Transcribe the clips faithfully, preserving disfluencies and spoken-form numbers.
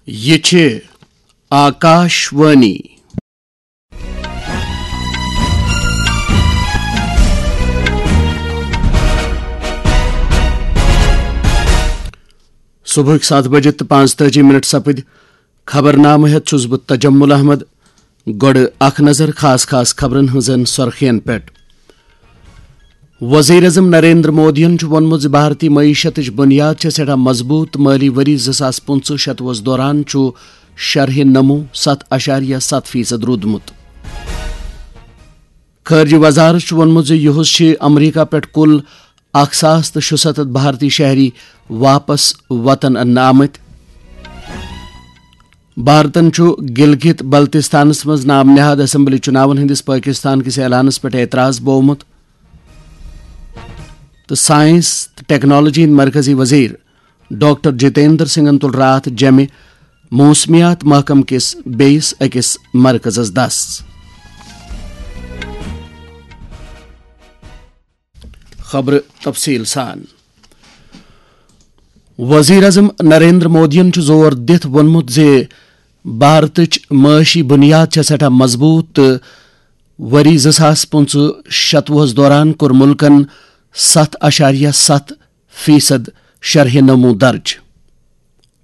یہِ چھِ آکاش وانی۔ صبحٕکۍ ستھ بجہِ تہٕ پانٛژتٲجی منٹ سپٕدۍ۔ خبرنامہٕ ہٮ۪تھ چھُس بہٕ تجمل احمد۔ گۄڈٕ اکھ نظر خاص خاص خبرن ہٕنٛزن سرخین پٮ۪ٹھ۔ وزیر اعظم نریندر مودیَن چھُ ووٚنمُت زِ بھارتی معیشتٕچ بُنیاد چھےٚ سٮ۪ٹھاہ مضبوٗط۔ مٲلی ؤری زٕ ساس پٕنٛژٕہ شتوُہس دوران چھُ شرح نمو ستھ اعشاریہ ستھ فیصد روٗدمُت۔ خارجہ وزارت چھُ ووٚنمُت زِ یُہُس چھِ امریکہ پٮ۪ٹھ کُل اکھ ساس تہٕ شُستتھ بھارتی شہری واپس وطن اننہٕ آمٕتۍ۔ بھارتن چھُ گلگت بلتستانس منٛز نام نہاد اسمبلی چُناون ہٕنٛدِس پٲکستان کِس اعلانس پٮ۪ٹھ اعتراض بوومُت۔ تہٕ ساینس تہٕ ٹیکنالوجی ہٕنٛدۍ مرکزی وزیر ڈاکٹر جتیندر سنگھن تُل راتھ جمہِ موسمیات محکمہٕ کِس بیٚیِس أکِس مرکزس دس۔ خبرٕ تفصیل سان۔ وزیر اعظم نریندر مودیَن چھُ زور دِتھ ووٚنمُت زِ بھارتٕچ معاشی بُنیاد چھےٚ سٮ۪ٹھاہ مضبوٗط تہٕ ؤری زٕ ساس پٕنٛژٕہ شتوُہس دوران کوٚر مُلکَن ستھ اعشاریہ ستھ فیصد شرح نمو درج۔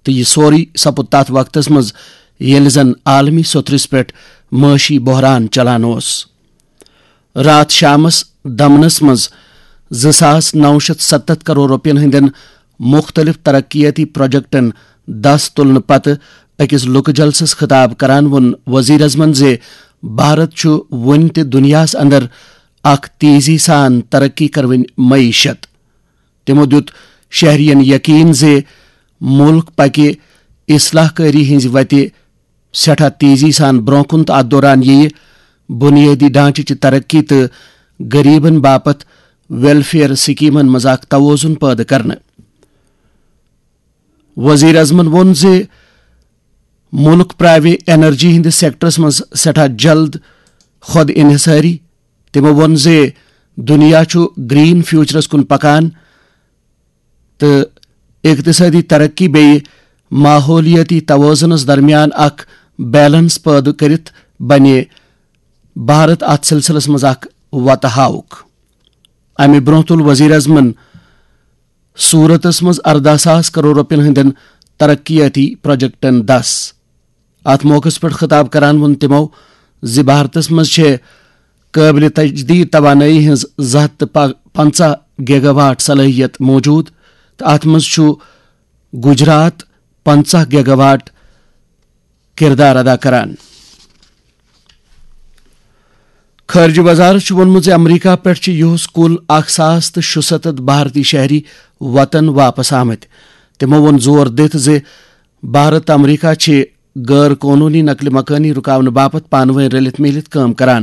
تہٕ یہِ سورُے سپُد تتھ وقتس منٛز ییٚلہِ زن عالمی سوٚتھرِس پٮ۪ٹھ معاشی بحران چلان اوس۔ راتھ شامس دمنس منٛز زٕ ساس نو شتھ ستتھ کرور رۄپین ہٕنٛدٮ۪ن مُختٔلِف ترقیٲتی پروجیکٹن دس تُلنہٕ پتہٕ أکِس لُکہٕ جلسس خطاب کران ووٚن وزیر اعظمن زِ بھارت چھُ وُنہِ تہِ دُنیاہس اندر اکھ تیزی سان ترقی کرونۍ معیشت۔ تِمو دیُت شہرین یقین زِ مُلک پکہِ اصلاح کٲری ہٕنٛزِ وتہِ سٮ۪ٹھاہ تیزی سان برٛونٛہہ کُن تہٕ اتھ دوران یِیہِ بُنیٲدی ڈھانچٕچ ترقی تہٕ غریبن باپتھ ویلفیئر سکیمن منٛز اکھ توازن پٲدٕ کرنہٕ۔ وزیر اعظمن ووٚن زِ مُلک پراوِ انرجی ہٕنٛدِس سیکٹرس منٛز سٮ۪ٹھاہ جلد خود انحصٲری۔ تِمو ووٚن زِ دُنیا چھُ گرین فیوچرس کُن پکان تہٕ اقتصٲدی ترقی بیٚیہِ ماحولیٲتی توازنس درمیان اکھ بیلنس پٲدٕ کٔرِتھ بنہِ بھارت اتھ سلسلس منٛز اکھ وتہٕ ہاوُک۔ امہِ برٛونٛہہ تُل وزیر اعظمن صورتس منٛز ارداہ ساس کرور رۄپین ہٕنٛدٮ۪ن ترقیٲتی پروجیکٹن دس۔ اتھ موقعس پٮ۪ٹھ خطاب کران ووٚن تِمو زِ بھارتس منٛز چھےٚ قٲبلِ تجدید توانٲیی ہٕنٛز زٕ ہتھ تہٕ پنٛژاہ گیگا واٹ صلٲحیت موجود تہٕ اتھ منٛز چھُ گجرات پنٛژاہ گیگا واٹ کردار ادا کران۔ خارجہ وزارت چھُ ووٚنمُت زِ امریکہ پٮ۪ٹھ چھِ یُہُس کُل اکھ ساس تہٕ شُستتھ بھارتی شہری وطن واپس آمٕتۍ۔ تِمو ووٚن زور دِتھ زِ بھارت تہٕ امریکہ چھِ غٲر قونوٗنی نقل مکٲنی رُکاونہٕ باپتھ پانہٕ وٲنۍ رٔلِتھ میٖلِتھ کٲم کران۔